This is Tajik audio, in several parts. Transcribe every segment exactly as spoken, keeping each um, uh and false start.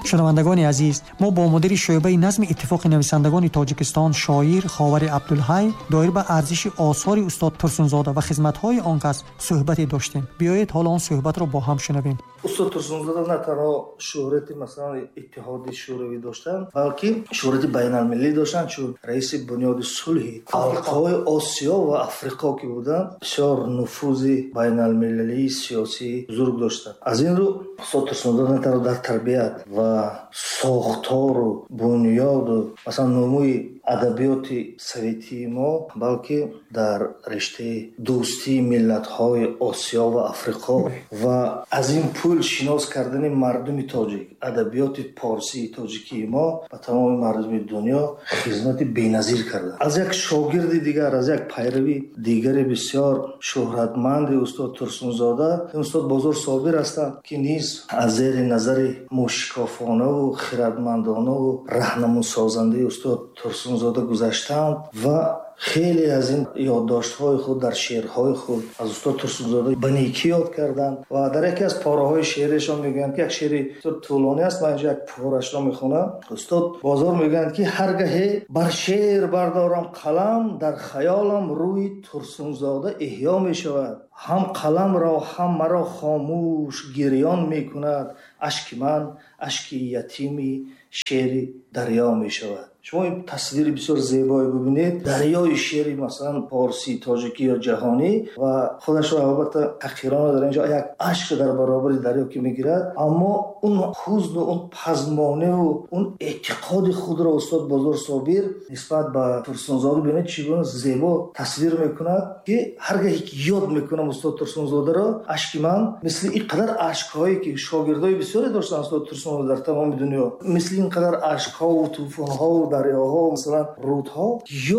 Шунавандагони азиз, мо бо мудири шӯъбаи назми Иттифоқи нависандагони Тоҷикистон шоир Ховари Абдулҳай доир ба арзиши осори устод Турсунзода ва хизматҳои он кас суҳбате доштем. Биёед ҳоло он суҳбатро бо ҳам шунавем. Устод Турсунзода на танҳо шӯҳрати масалан Иттиҳоди Шӯравӣ доштанд, балки шӯҳрати байналмилалӣ доштанд, чун раиси бунёди сулҳи халқҳои Осиё ва Африқо ки буданд, бисёр нуфузи байналмилалии сиёсӣ бузург доштанд. Аз ин рӯ устод Турсунзода на танҳо дар тарбият ва сохтору бунёду масалан нумӯи адабиёти советии мо, балки дар риштаи дӯстии миллатҳои Осиё ва Африқо ва аз ин пул шинос кардани мардуми тоҷик, адабиёти порсии тоҷикии мо ба тамоми мардуми дунё хизмати беназир карданд. Аз як шогирди дигар, аз як пайрави дигари бисёр шӯҳратманди устод Турсунзода, устод Бозор Собир ҳастанд, ки низ аз зери назари мушкофонаву хирадмандонаву раҳнамусозандаи устод Турсунзода гузаштанд ва хеле аз ин ёддоштҳои худ дар шеърҳои худ аз устод Турсунзода ба некӣ ёд карданд ва дар яке аз пораҳои шеърашон мегӯянд, ки як шеъри бисёр тӯлонӣ аст, ман инҷо як порашро мехонам. Устод Бозор мегӯянд, ки ҳаргаҳе бар шеър бардорам қалам, дар хаёлам рӯи Турсунзода эҳё мешавад, ҳам қаламро ҳам маро хомӯш гирён мекунад, ашки ман ашки ятими шеъри дарё мешавад. Шумо ин тасвири бисёр зебое бибинед, дарёи шеъри масалан порсӣ, тоҷикӣ ё ҷаҳонӣ, ва худашро албатта ҳақирона дар инҷо як ашк дар баробари дарё ки мегирад, аммо он ҳузну он пазмониву он эътиқоди худро устод Бозор Собир нисбат ба Турсунзода бибинед чӣ гуна зебо тасвир мекунад, ки ҳаргаҳе ки ёд мекунам устод Турсунзодаро, ашки ман мисли ин қадар ашкҳое ки шогирдои бисёре доштанд устод Турсунзода дар тамоми дунё, мисли ин қадар ашкҳову тӯфонҳову дарёҳо, масалан рӯдҳо,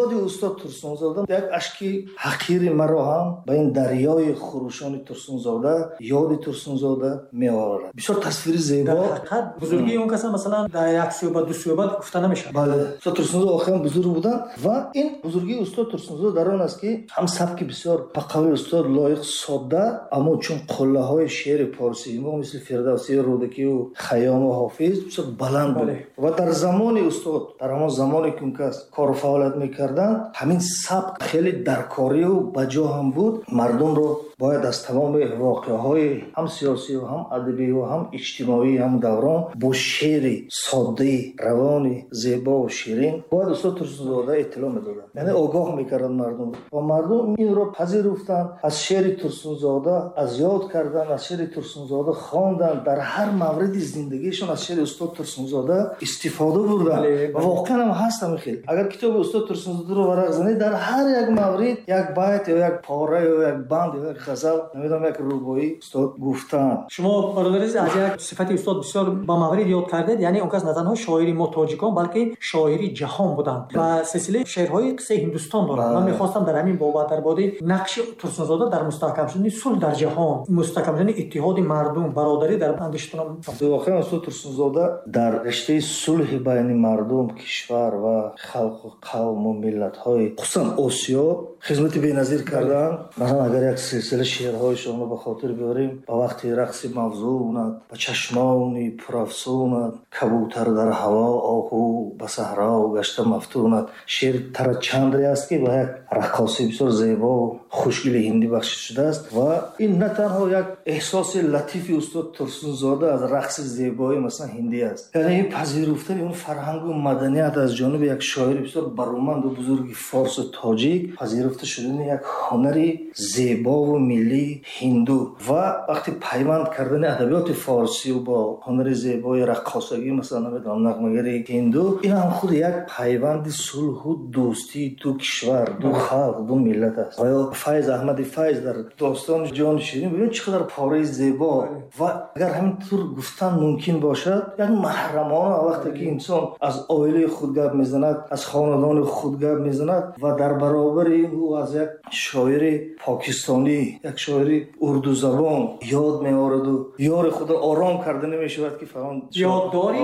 ёди устод Турсунзода як ашки ҳақири маро ҳам ба ин дарёи хурӯшони Турсунзода, ёди Турсунзода меоварад. Бисёр тасвири зебо. Дар ҳақиқат бузургии он каса масалан дар як суҳбат, ду суҳбат гуфта намешавад. Бале, устод Турсунзода охиран бузург буданд ва ин бузургии устод Турсунзода дар он аст, ки ҳам сабки бисёр ба қавли устод лоиқ содда, аммо чун қуллаҳои шеъри порсии мо мисли Фирдавсӣ, Рӯдакию Хайёму Ҳофиз бисёр баланд буд ва дар замони устод, дар ҳамон замоне ки он кас кору фаъолият мекарданд, ҳамин сабк хеле даркорию ба ҷо ҳам буд. Мардумро бояд аз тамоми воқеаҳои ҳам сиёсию ҳам адабию ҳам иҷтимоии ҳам даврон бо шеъри соддаи равони зебову ширин бояд устод Турсунзода иттилоъ медоданд, яъне огоҳ мекарданд мардумро ва мардум инро пазируфтанд, аз шеъри Турсунзода аз ёд карданд, аз шеъри Турсунзода хонданд, дар ҳар мавриди зиндагиашон аз шеъри устод Турсунзода истифода бурданд ва воқеан ҳам ҳаст ҳамин хел. Агар китоби устод Турсунзодаро варақ занед, дар ҳар як маврид як байт ё як пора ё як банд ё як ғазал, намедонам, як рубоӣ устод гуфтанд. Шумо бародари азиз аз як сифати устод бисёр ба маврид ёд кардед, яъне он кас на танҳо шоири мо тоҷикон, балки шоири ҷаҳон буданд ва силсилаи шеърҳои қиссаи Ҳиндустон доранд. Ман мехостам дар ҳамин бобат, дар бораи нақши Турсунзода дар мустаҳкам шудани сулҳ дар ҷаҳон, мустаҳкам шудани иттиҳоди мардум, бародарӣ дар андешатон. Воқеан устод Турсунзода дар риштаи сулҳи байни мардум, кишвар ва халқу қавму миллатҳои хусусан Осиё хизмати беназир карданд. Масалан агар як силсила шеърҳои шуморо ба хотир биёрем, ба вақти рақси мавзунат, ба чашмони пурафсунат, кабутар дар ҳаво, оҳу ба саҳро гашта мафтунат. Шеъри Тарачандре аст, ки ба як раққосии бисёр зебо хушгили ҳиндӣ бахшида шудааст ва ин на танҳо як эҳсоси латифи устод Турсунзода аз рақси зебои масалан ҳиндӣ аст, яъне ин пазируфтани он фарҳангу маданият аз ҷониби як шоири бисёр бароманду бузурги форсу тоҷик, пазируфта шудани як ҳунари зебову миллии ҳинду ва вақти пайванд кардани адабиёти форсию бо ҳунари зебои раққосагӣ, масалан намедонам нағмагари ҳинду, ин ҳам худ як пайванди сулҳу дӯстии ду кишвар, ду халқ, ду миллат аст. Ва ё Файз Аҳмади Файз дар достони ҷони ширин бибинед чӣ қадар пораи зебо ва агар ҳамин тур гуфтан мумкин бошад, як маҳрамона вақте ки инсон аз оилаи худ худ гап мезанад, аз хонадони худ гап мезанад ва дар баробари ӯ аз як шоири покистонӣ, як шоири урдузабон ёд меораду ёри худро ором карда намешавад ки фалон ёддори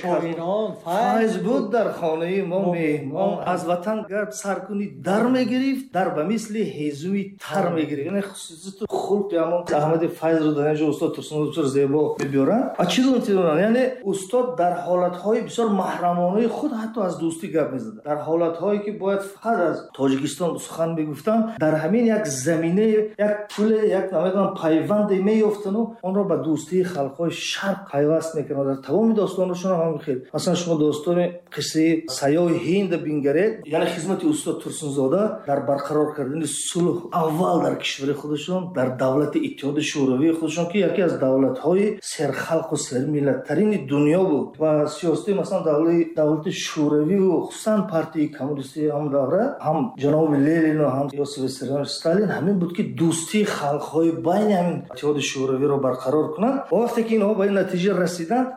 шоирон файз буд дар хонаи мо меҳмон, аз ватан гап сар кунӣ дар мегирифт, дар ба мисли ҳезуми тар мегирифт. Яъне хусусияту хулқи ҳамон Аҳмади Файзро дар инҷо устод Турсунзода бисёр зебо мебиёранд. Ва чӣ донанд? Яъне устод дар ҳолатҳои бисёр маҳрамонаи худ ҳатто аз дӯстӣ гап мезаданд, дар ҳолатҳое ки бояд фақат аз Тоҷикистон сухан мегуфтанд, дар ҳамин як замина, як пуле, як намедонам пайванде меёфтану онро ба дӯстии халқҳои шарқ пайваст мекунанд. Дар тамоми достонашон ҳам ҳамин хел. Масалан шумо достони қиссаи Сайёҳи Ҳинд бингаред, яъне хизмати устод Турсунзода дар барқарор кардани сулҳ аввал дар кишвари худашон, дар давлати Иттиҳоди Шӯравии худашон ки яке аз давлатҳои серхалқу сермиллаттарини дунё буд ва сиёсати масалан давлати Шӯравиву хусусан партияи коммунистии ҳам давра, ҳам ҷаноби Ленину ҳам Иосиф Виссарионович Сталин ҳамин буд ки дӯстии халқҳои байни ҳамин Иттиҳоди Шӯравиро барқарор кунанд. Ва вақте ки инҳо ба ин натиҷа расиданд,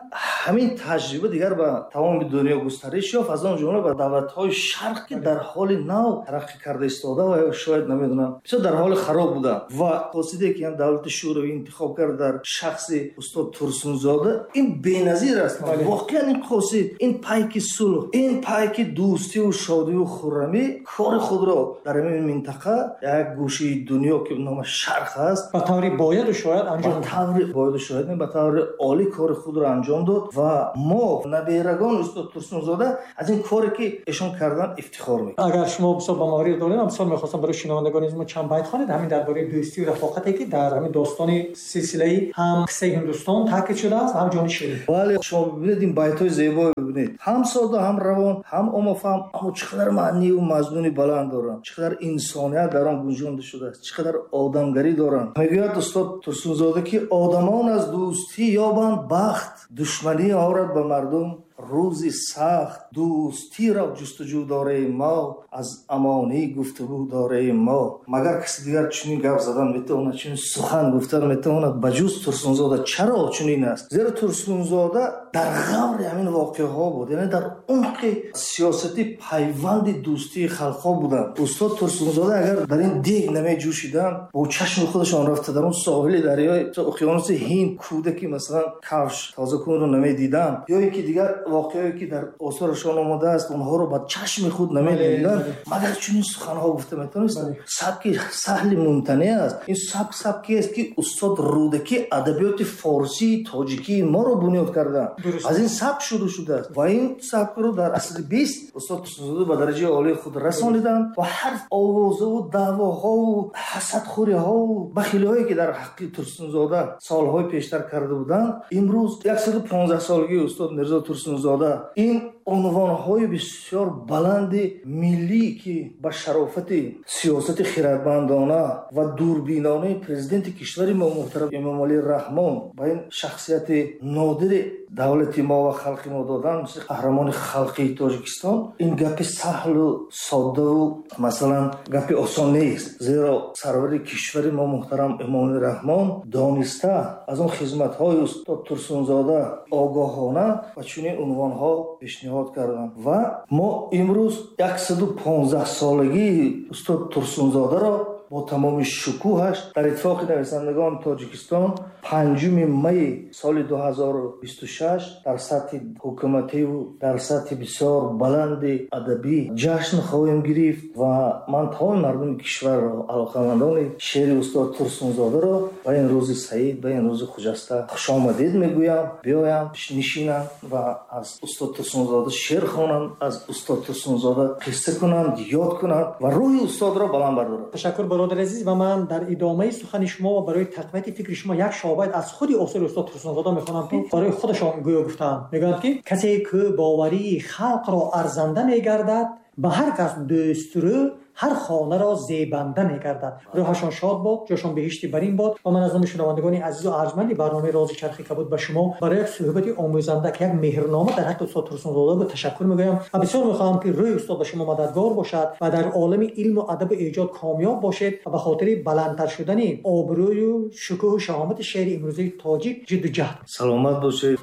ҳамин таҷриба дигар ба тамоми дунё густариш ёфт, аз он ҷумла ба давлатҳои шарқ ки дар ҳоли нав тараққӣ карда истода ва шояд намедонам бисёр дар ҳоли хароб буданд. Ва қосиде ки ҳам давлати Шӯравӣ интихоб кард дар шахси устод Турсунзода, ин беназир аст. Воқеан ин қосид, ин пайки сулҳ, ин пайки дӯстиву шодиву хуррамӣ кори худро дар ҳамин минтақа, як гӯшаи дунё ки номаш шарқ аст, ба таври бояду шояд анҷом ба таври бояду шояд, ба таври олӣ кори худро анҷом дод ва мо наберагони устод Турсунзода аз ин коре ки эшон кардан ифтихор мекунем. Агар шумо бисёр ба маврид доред, ман бисёр мехостам барои шунавандагони мо чанд байт хонед ҳамин дар бораи дӯстию рафоқате ки дар ҳамин достони силсилаи ҳам қиссаи Ҳиндустон таъкид шудааст, ҳам ҷони ширин. Бале, шумо бибинед ин байтҳои зебо бибинед, ҳам сода, ҳам равон, ҳам омафаҳм, аммо чӣ қадар маънию мазмуни баланд доранд, чӣ қадар инсоният дар он гунҷонда шудааст, чӣ қадар одамгарӣ доранд. Мегӯяд устод Турсунзода ки одамон аз дӯстӣ ёбанд бахт, душманӣ орад ба мардум рӯзи сахт, дӯстиро ҷустуҷӯ дораем мо, аз амонӣ гуфтугӯ дораем мо. Магар каси дигар чунин гап задан метавонад, чунин сухан гуфтан метавонад ба ҷуз Турсунзода? Чаро чунин аст? Зеро Турсунзода дар ғаври ҳамин воқеаҳо буд, яъне дар умқи сиёсати пайванди дӯстии халқҳо буданд. Устод Турсунзода агар дар ин дег намеҷӯшиданд, бо чашми худашон рафта дар он соҳили дарёи уқёнуси Ҳинд кӯдаки масалан кавш тозакунро намедиданд, ё ин ки дигар воқеае ки дар осорашон омадааст онҳоро ба чашми худ намедиданд, магар чунин суханҳо гуфта метавонистанд? Сабки саҳли мумтанеъ аст. Ин сабк сабкест ки устод Рӯдакӣ адабиёти форсии тоҷикии моро бунёд карданд, аз ин сабк шурӯъ шудааст ва ин сабкро дар асри бист устод Турсунзода ба дараҷаи олии худ расониданд ва ҳар овозаву даъвоҳову ҳасадхӯриҳову бахилиҳое ки дар ҳаққи Турсунзода солҳои пештар карда буданд, имрӯз яксаду понздаҳ солагии устод Мирзо Турсунзода ин унвонҳои бисёр баланди миллӣ ки ба шарофати сиёсати хирадмандона ва дурбинонаи президенти кишвари мо муҳтарам Эмомалӣ Раҳмон ба ин шахсияти нодири давлати мо ва халқи мо доданд, мисли қаҳрамони халқии Тоҷикистон, ин гапи саҳлу соддаву масалан гапи осон нест. Зеро сарвари кишвари мо муҳтарам Эмомалӣ Раҳмон дониста аз он хизматҳои устод Турсунзода огоҳона ва чунин унвонҳо пешниҳод карданд ва мо имрӯз яксаду понздаҳ солагии устод Турсунзодаро бо тамоми шукӯҳаш дар иттифоқи нависандагони Тоҷикистон панҷуми майи соли ду ҳазору бисту шаш дар сатҳи ҳукумативу дар сатҳи бисёр баланди адабӣ ҷашн хоҳем гирифт ва ман тамоми мардуми кишварро, алоқамандони шеъри устод Турсунзодаро ба ин рӯзи саид, ба ин рӯзи хуҷаста хушомадед мегӯям. Биёям, нишинанд ва аз устод Турсунзода шеър хонанд, аз устод Турсунзода қисса кунанд, ёд кунанд ва рӯҳи устодро баланд бардоранд. Ташаккур бародари азиз. Ва ман дар идомаи сухани шумо ва барои тақвияти фикри шумо як шобайт аз худи осори устод Турсунзода мехонам ки барои худашон гӯё гуфтаанд. Мегӯянд ки касе ки боварии халқро арзанда мегардад, ба ҳар кас дӯстрӯ ҳар хонаро зебанда мегардад. Рӯҳашон шод бод, ҷошон беҳишти барин бод. Ва ман аз номи шунавандагони азизу арҷманди барномаи Рози Чархи Кабуд ба шумо барои як суҳбати омӯзанда ки як меҳрнома дар ҳаққи устод Турсунзода буд ташаккур мегӯям ва бисёр мехоҳам ки рӯи устод ба шумо мададгор бошад ва дар олами илму адабу эҷод комёб бошед ва ба хотири баландтар шудани обрӯю шукӯҳу шаҳомати шеъри имрӯзаи тоҷик ҷидду ҷаҳд. Саломат бошед.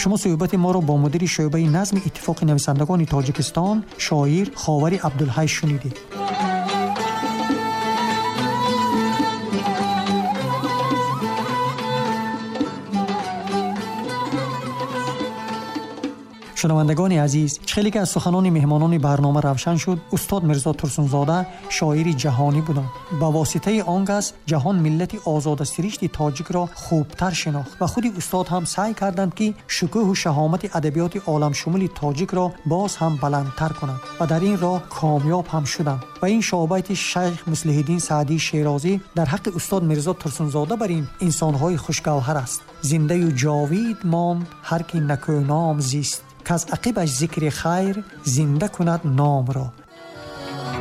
Шумо суҳбати моро бо мудири шӯъбаи назми Иттифоқи нависандагони Тоҷикистон, шоир Ховари Абдулҳай шунидед. Шунавандагони азиз, хеле ки аз суханони меҳмонони барнома равшан шуд, устод Мирзо Турсунзода шоири ҷаҳонӣ буданд. Ба воситаи он кас ҷаҳон миллати озодасиришти тоҷикро хубтар шинохт ва худи устод ҳам саъй карданд, ки шукӯҳу шаҳомати адабиёти оламшумули тоҷикро боз ҳам баландтар кунанд ва дар ин роҳ комёб ҳам шуданд. Ва ин шоҳбайти шайх Муслиҳиддин Саъдии Шерозӣ дар ҳаққи устод Мирзо Турсунзода бар ин инсонҳои хушгавҳар аст. Зиндаю ҷовид монд ҳар ки накӯном зист, каз ақибаш зикри хайр зинда кунад номро.